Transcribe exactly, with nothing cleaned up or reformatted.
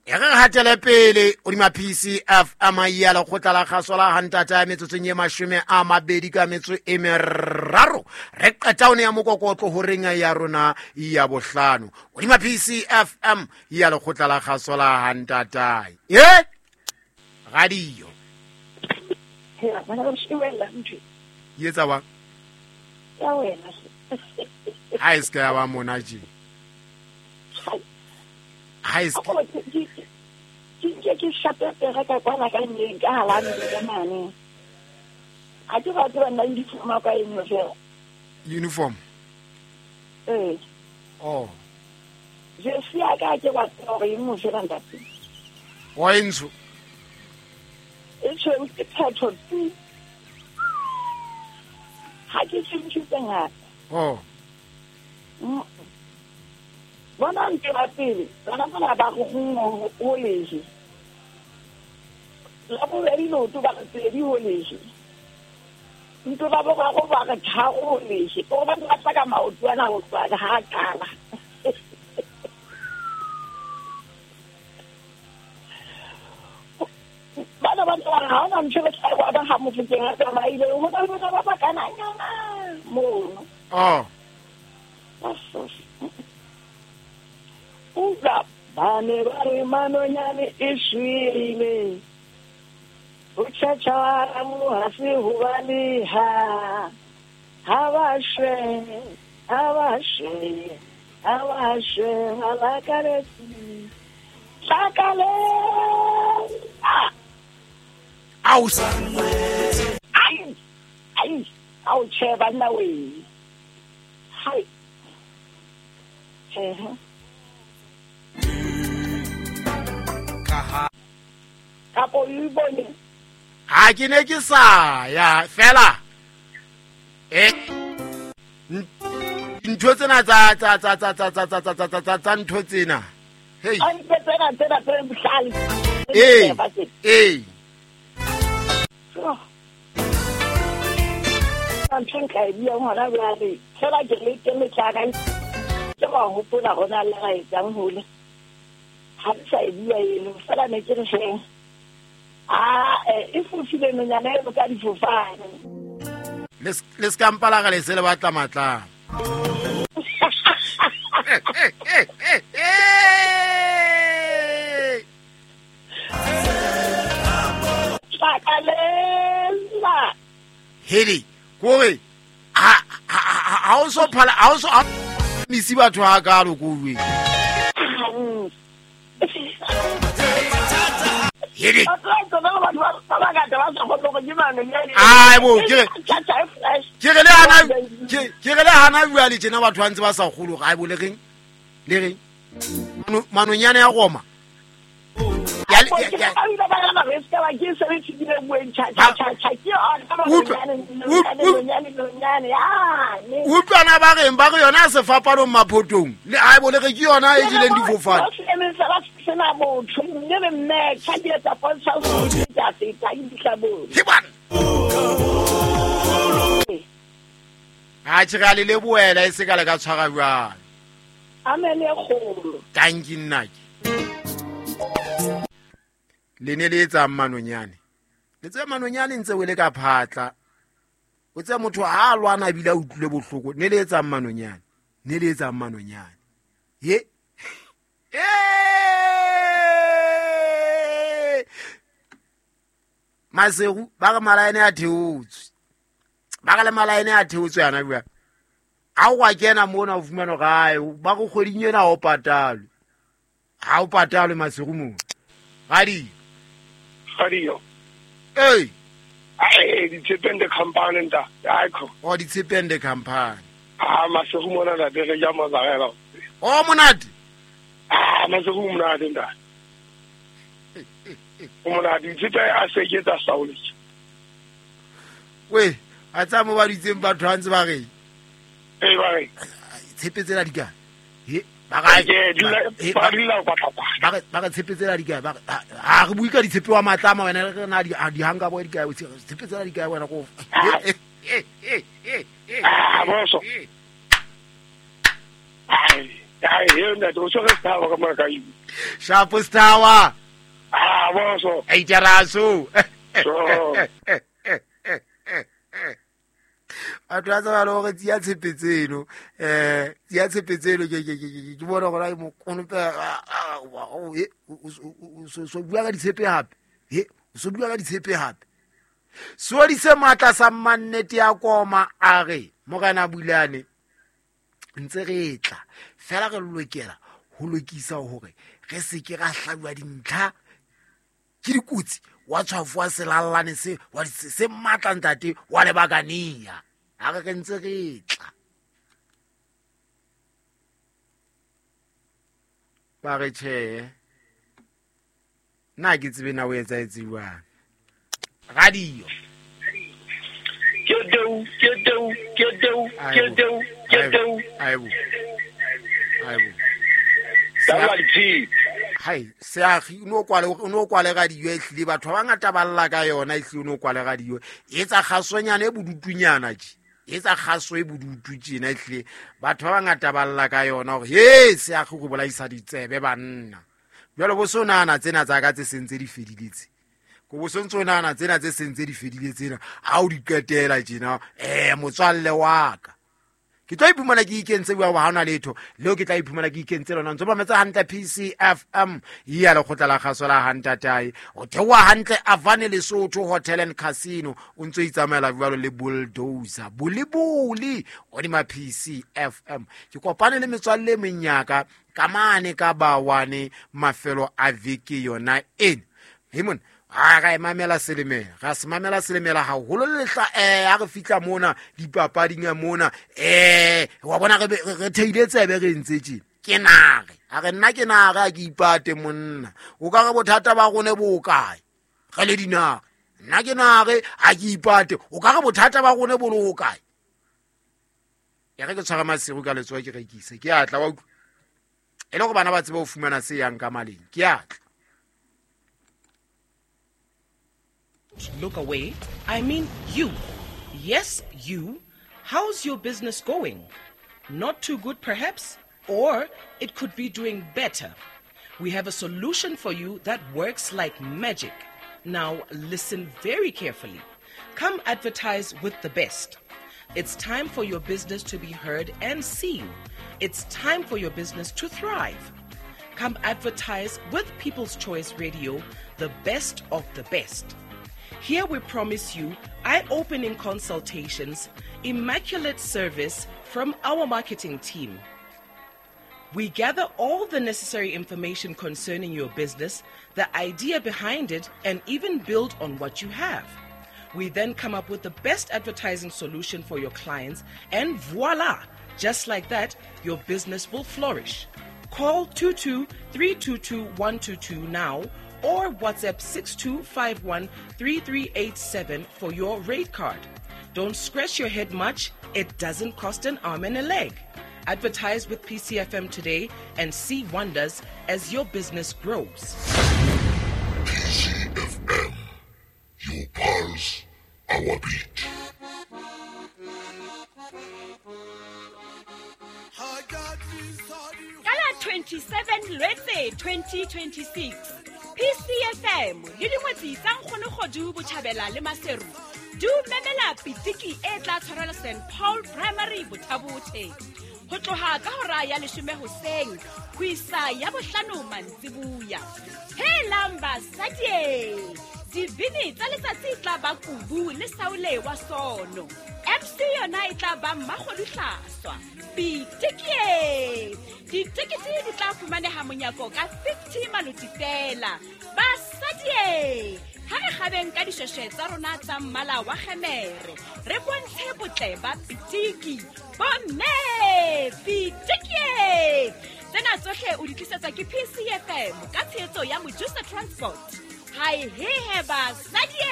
E re hatele pele o dima P C F M ya lekgotla la kgaso la hantata ya metsotsong ye mashome a mabedi ka metso e meraro re qeta one ya mokokotlo horeng ya rona ya bohlano o dima P C F M ya lekgotla la kgaso la hantata e radio yetsa wa ya wena ha iska ya ba mona je ha iska ke ke ke shape pere ka kwana ka neng ka halane ka mane ha ke ba tseba nna uniform ka eng fela uniform eh oh je sia ka ke wa tsore eng mo fela ntate wa entso e tshweu ke phetho tsi ha ke tshintse ngata oh bona ntse ba pele bana bana ba go go o leje la bobedi loto ba pedi ho leje ntse ba ba go ba re tharo ho leje o ba ba tla ka maoto ana ho tswa ha qala bana ba ba ha ona ntse ba tla ba ha mofokeng a tsamaile ho ba ba ba kana nyana mo oh uza ba ne ba re manonyane e shwele o tjhatjhara mo ha se ho baleha ha ba shwe ha ba shwe ha ba shwe ha ba kaletse tlakale aus ai ai au che banna we hai eh kapo o bone ha ke ne ke sa ya fela eh ntho tsena tsa tsa tsa tsa tsa tsa tsa tsa tsa tsa ntho tsena hey ntho tsena tsena tse bohlale eh eh ntho nka e buang hona jwale fela ke le ke metlaka ke ba hopola hona le ga etsang hole ha ke sa e bua eno fela ne ke re feng a e fofile nonyana e ka difofane le le skampala ga le se le batla matla heli kore ha ha o so phala ha o so misi batho ha ka lo kuwe heli ai bo ke ke re le hana ke re le hana bua le tjena batho ba ntse ba sa kgolo ga bo le reng le reng manonyane ya Roma ya utlwana ba reng ba re yona sefapanong maphotong le ai bo le re ke yona e jeleng difofane ha tjhe le le boela e se ka le ka tshwara jwang amen e kgolo tanki nnake le ne le etsang manonyane le tse manonyane ntse o le ka phatla o tse motho ha a lwana ebile a utlwile bohloko ne le etsang manonyane ne le etsang manonyane ye Maseru ba re malaene a theotswe ba re le malaene a theotswe yana bua ha o wa kena mona o fumana gae ba go kgweding ena o patalwe ha o patalwe Maseru mo gadi gadi hey ai di tshepende company nta aikho o di tshepende company ah Maseru mona la re ja mazarela o monate ah Maseru monate nta o monate tshepe a se ke tsa saule we a tsa mo ba ditseng batho ba ntse ba re eh ba re tshepe tsela di ka he ba ga ke ba dula kwa tlapa ba re ba re tshepe tsela di ka ba ha re bue ka ditshepe wa matlama wena re na di di hanga bo di ka tshepe tsela di ka wena go ah boso ai Ai he ntate o tshwere sethawa ka mora ka ibu. Shapo sethawa. Ah boso. Ei teraso. Batho ba tseba le gore tsia tshepe tseno um tsia tshepe tseno ke ke bona gore mokonope so bua ka ditshepe hape he so bua ka ditshepe hape seodi se matla sa mannete ya koma a re Morena Bulane ntse re tla fela re lokela ho lokisa hore re se ke ra hlabiwa dintlha ke dikotsi wa tshwafo wa selallane se wa se matla ntate wa lebakania a re re ntse re tla ba re tjhe nna ke tsebe na o etsaetse jwang radio ke teu ke teu ke teu ke teu ke teu aibo aibo sa hai seagi o no kwale o no kwale radio e hlile batho ba bangata ba lla ka yona e hlile o no kwale radio e tsa kgasonyana e bodutunyana tje e tsa kgaso e bodutu tjena e hlile batho ba bangata ba lla ka yona hore he seagi go bolaisa ditsebe banna jwale bo so nahana tsena tsa ka tse sentse di fedile tse ko bo sontso nahana tsena tse sentse di fedile tsena ha o di qetela tjena eh motswalle wa ka ke tlo iphumana ke ikentse bua ha hona letho leo ke tla iphumana ke ikentse lona ntse ba metsa hantle P C F M ya lekgotla la kgaso la hantatae o theoha hantle Avane Lesotho Hotel and Casino o ntso itsamaela jwalo le bulldozer bulibuli o di ma P C F M ke kopane le metswalle e menyaka ka mane ka bawane mafelo a veke yona ena hemon a ga e mamela selemela ga se mamela selemela haholo lehla eh ha re fitla mona dipapading mona eh wa bona re re theile tsebe re ntse tje ke nare a re nna ke nare a ke ipate monna o ka re bothata ba rone bo kae re le dinare nna ke nare a ke ipate o ka re bothata ba rone bo lo kae ya re ke tshwara masiru ka letsoho ke rekise ke atla wa utlwa e le go bana ba tsebe ho fumana se yang ka maleng ke atla. Look away. I mean you. Yes, you. How's your business going? Not too good, perhaps? Or it could be doing better. We have a solution for you that works like magic. Now, listen very carefully. Come advertise with the best. It's time for your business to be heard and seen. It's time for your business to thrive. Come advertise with People's Choice Radio, the best of the best. Here we promise you eye-opening consultations, immaculate service from our marketing team. We gather all the necessary information concerning your business, the idea behind it, and even build on what you have. We then come up with the best advertising solution for your clients, and voila! Just like that, your business will flourish. Call two two three two two one two two now or WhatsApp six two five one three three eight seven for your rate card. Don't scratch your head much. It doesn't cost an arm and a leg. Advertise with P C F M today and see wonders as your business grows. P C F M, your pulse, our beat. Kala twenty-seven Lwetse twenty twenty-six. P C F M le dingwetsi tsa Nkgonogodu Botjhabela le Maseru di memela pitiki e tla tshwarelwa Saint Paul Primary Bothabothe ho tloha ka hora ya leshome hoseng ho isa ya bohlano mantsibuya. Helang basadi, dibini tsa letsatsi tla ba Kubu le Saule wa Sono. M C yona e tla ba Mmakgodu Hlaswa. Pitiki! Ditekete di tla fumaneha monyako ka fifty maloti fela. Basadi, ha re kgabeng ka dishweshwe tsa rona tsa mmala wa kgemere, re bontshe botle ba pitiki. Bomme, pitiki! Tsena tsohle o di tlisetswa ke P C F M ka tshehetso ya Mojusa Transport. Hai he he basadi!